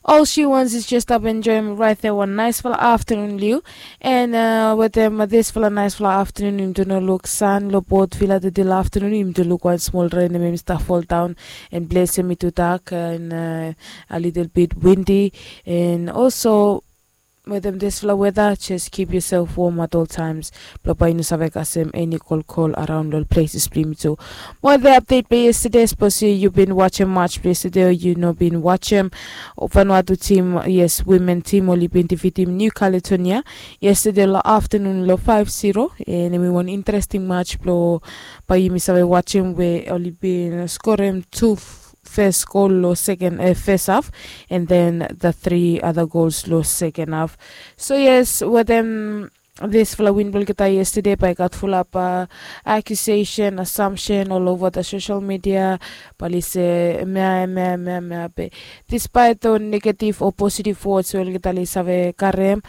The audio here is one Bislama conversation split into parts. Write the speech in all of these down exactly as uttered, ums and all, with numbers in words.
All she wants is just stap enjoem raet ya wan naesfala aftanun, Liu. An wetem disfala naesfala aftanun yumi tu no luk san long bot vila. Tede long aftanun yumi tu luk wan smol ren em i stap foldaon an blesem i tu dak an a litil bit windi. An olso wetem disfala weda, jes kip yusef wom at ol taems blong bae yu no save kasem eni kolkol araon long ol pleses blong yumi tu. Mo de apdet blong yestede, sapos yu bin wajem maj blong yestede o yu no bin wajem, Vanuatu tim, yes, wimen tim oli bin difitim Niu Kaletonia yestede long aftanun long faef siro. An em i wan interesting maj blong bae yumi save wajem we oli bin skorem tu fes gol long seken, fes haf, an den the tri ada gols long seken haf. So yes, wetem disfala win blong olgeta yestede bae i gat fulap akusesen, asamsen olova da sosel midia, bae oli se mea mea mea mea be dispaet ol negativ o positiv wods we olgeta oli save karem,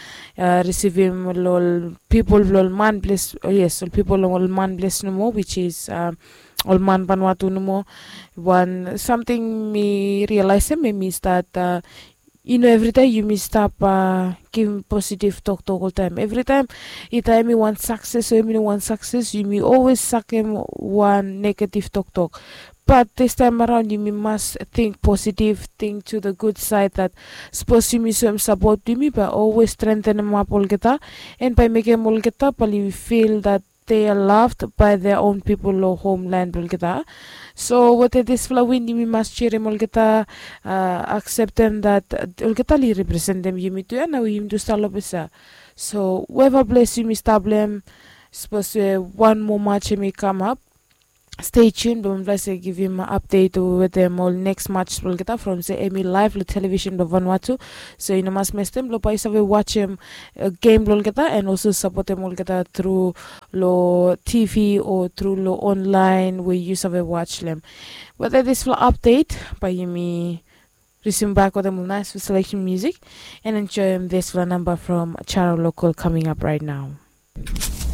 risivim long ol pipol blong ol man ples, yes, ol pipol long ol man ples nomo, wis is ol man Vanuatu nomo. Wan samting mi rialaesem em i stat, i no evritaem yumi stap givim positiv toktok oltaem. Evritaem i taem i wan sakses o em i no wan sakses, yumi olwes sakem wan negativ toktok. Bat distaem araon yumi mas ting positiv, ting tu the gud saed, dat sapos yumi soem sapot blong yumi bae olwes strentenemap olgeta, an bae mekem olgeta bae oli fil dat they are loved by their own pipol long homlan blong olgeta. So wetem disfala win yumi mas jerem olgeta, akseptem dat olgeta oli representem yumi tu ya, nao yumi tu stap long ples ya. So weva ples yumi stap long hem, sapos we wan moa maj em i kamap, stei tun blong mifala se givim apdet wetem ol neks maj blong olgeta from se em i laef long televisen blong Vanuatu. So yu no mas mestem blong bae yu save wajem gem blong olgeta an olso sapotem olgeta tru long TV o tru long onlaen we yu save waj long hem. Wetem disfala apdet bae yumi resume bak wetem ol naesfala seleksen musik an enjoem disfala namba from Charo Lokol coming up right now.